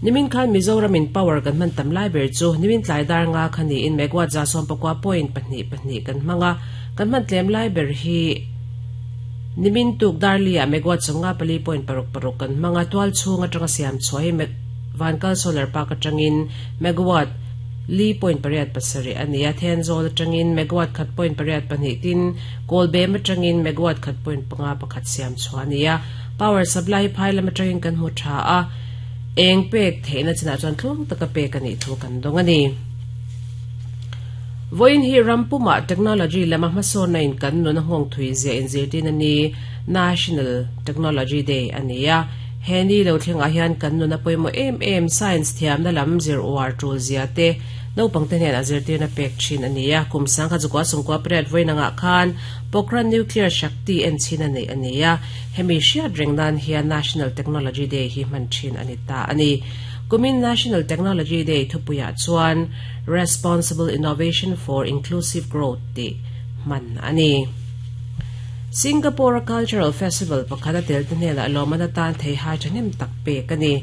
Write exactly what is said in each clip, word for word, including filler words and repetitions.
Nimin khan Mizoram in power kan man tam lai ber chu nimin tlai dar nga khani in megawatt za som pakwa point pahnih pahnih kan hmanga kan man tlem lai ber hi nimin tuk darlia megawatt chunga pali point paruk paruk kan hmanga tual chunga tanga siam choi vankal solar park atangin megawatt li point pariat pasari ania then zol atangin megawatt khat point pariat pahnih tin kolbe atangin megawatt khat point panga pakhat siam chuania power supply phai lam atangin kan mu tha a eng pek theina china chuan thlung taka pek ani thu kan dong ani voin hi rampuma technology lama hmasawn na in kan nun hong thui zia in zirtin ani National Technology Day ania heni lo thleng a hian kan nun a poimo em em science thiam na lam zir war tul zia te no pangte hnen a zirtir na pek thin ania kum sang kha chukwa sungkwa pret voin anga khan Pokhran Nuclear Shakti en chin ani ania hemi hriat reng nan hian National Technology Day hi man thin ani ta ani kumin National Technology Day thupuya chuan Responsible Innovation for Inclusive Growth ti man ani Singapore Cultural Festival pakhata tel te hnena lomana tan thei hai thanem tak pe kani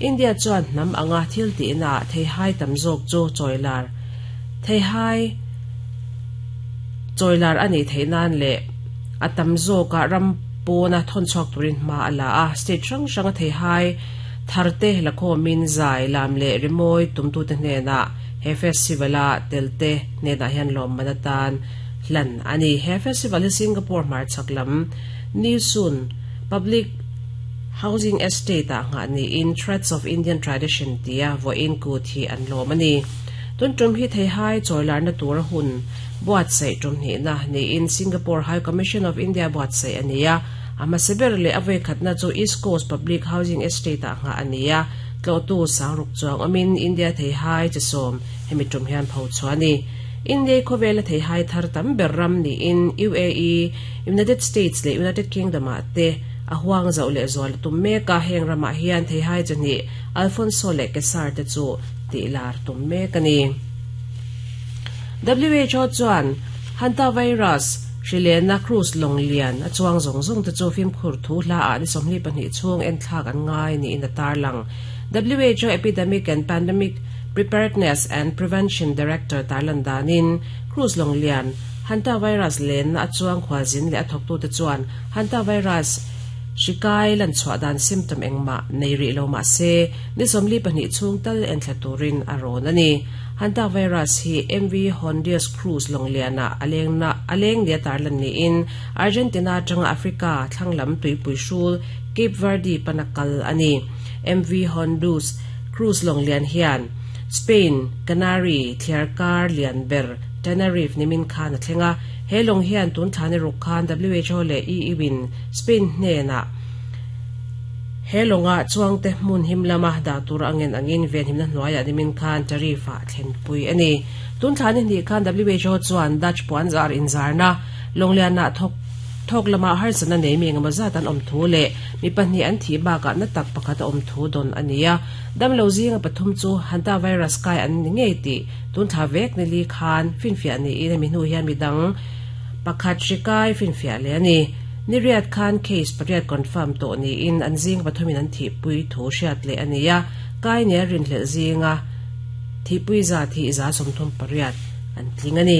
India chuan nam anga thil ti na thei hai tam zawk chu choilar thei hai choilar ani theinan le atam zawka ram pona thon chok turin ma ala a state rang ranga thei hai tharte lakho min zai lam le rimoi tumtu te hnena he festivala telte hnena hian lom manatan lan ani he festival hi Singapore mar chaklam Nee Soon Public Housing Estate a nga ni in Threads of Indian Tradition tia vo in ku thi an lom ani tun tum hi thei hai choilar na tur hun buat sei tum ni na ni in Singapore High Commission of India buat sei ania ama seber le avoi khatna chu East Coast Public Housing Estate a nga ania tlo tu sangruk chuang amin India thei hai chisom hemi tum hian pho chuani India khowela thei hai thar tam ber ram ni in U A E United States le United Kingdom a te a huang zau le zol tum me ka heng rama hian thei hai chani Alfonso le Kesar te chu ti lar tum me kani W H O chuan hantavirus Rilena Cruz Longlian a chuang zong zong te chu phim khur thu hla a ni somli pahnih chung en thlak an ngai ni in a tarlang W H O Epidemic and Pandemic Preparedness and Prevention Director Tarlan Danin Cruz Longlian hantavirus len a chuang khwalzin le a thoktu te chuan hantavirus shikai lan chwa dan symptom engma nei ri lo ma se ni somli pahnih chung tal en thlaturin a ron ani hantavirus hi M V Hondius Cruz Longliana aleng na aleng nia tarlan ni in Argentina tanga Africa thlanglam tuipui hrul Cape Verde panakal ani M V Hondius Cruz Longlian hian Spain Canary Thliarkar Lianber Tenerife nimin khan a thlenga helong hian tun thani ruk khan W H O le E U in Spain hnena helonga chuangte hmun himlama da tur angen angin ven himna hnuaia nimin khan tarifa thlen pui ani tun thani ni khan W H O chuan Dutch puan zar in zarna longliana thok thok lama har sana nei mi ngama za tan om thu le mi pahnih an thi ba ka na tak pakhat om thu don ania dam lo zinga pathum chu hantavirus kai an ni ngei ti tun tha vek ni li khan finfia ni ina mi hnu hian mi dang pakhat hrikai finfia le ani ni riat khan case pariat confirm to ni in an zing pathumin an thi pui thu hriat le ania kai ne rin hle zinga thi pui za thi za somthum pariat an tling ani.